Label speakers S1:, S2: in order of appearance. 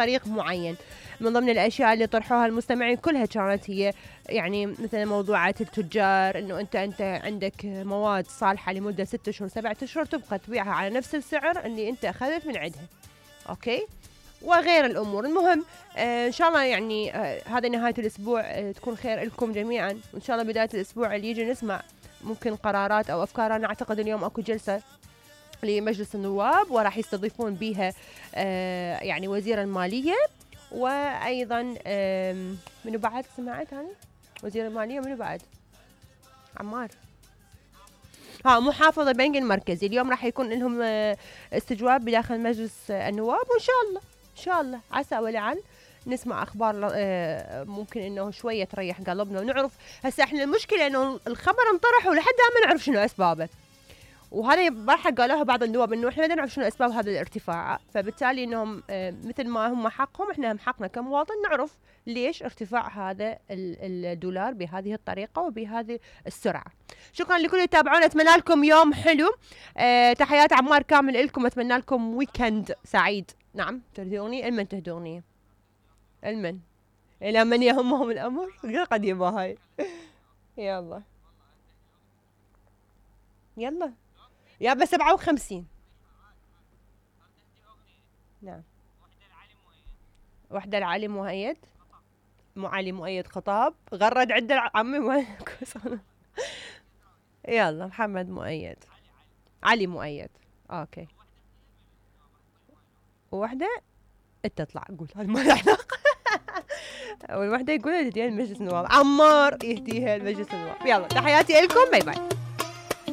S1: طريق معين. من ضمن الاشياء اللي طرحوها المستمعين كلها كانت هي يعني مثلا موضوعات التجار، انه انت عندك مواد صالحه لمده 6 شهور 7 اشهر تبقى تبيعها على نفس السعر اللي انت اخذت من عندها، اوكي، وغير الامور. المهم ان شاء الله يعني هذا نهايه الاسبوع تكون خير لكم جميعا، وان شاء الله بدايه الاسبوع اللي يجي نسمع ممكن قرارات او افكار. انا اعتقد اليوم اكو جلسه لمجلس النواب وراح يستضيفون بها يعني وزير الماليه، وايضا منو بعد سمعت انا وزير الماليه، منو بعد عمار محافظ البنك المركزي. اليوم راح يكون لهم استجواب بداخل مجلس النواب، وان شاء الله عسى ولعل نسمع اخبار ممكن انه شويه تريح قلبنا ونعرف. هسه احنا المشكله انه الخبر انطرح ولحد الان ما نعرف شنو اسبابه، وهذا راح قالوها بعض النواب انه احنا ما نعرف شنو اسباب هذا الارتفاع، فبالتالي انهم مثل ما هم حقهم احنا هم حقنا كمواطن نعرف ليش ارتفاع هذا الدولار بهذه الطريقه وبهذه السرعه. شكرا لكل اللي تابعونا، اتمنى لكم يوم حلو. تحيات عمار كامل لكم، اتمنى لكم ويكند سعيد. نعم تهدوني المن تهدوني المن الى من يهمهم الامر قديمه هاي. يلا يا بس 57. نعم وحدة العلي مؤيد علي مؤيد خطاب غرد عدة عمي يلا محمد مؤيد علي مؤيد اوكي. ووحدة تطلع قول هذا ما له علاقة. والوحدة يقول تهديها لمجلس النواب، عمار يهديها لمجلس النواب. يلا تحياتي لكم، باي باي.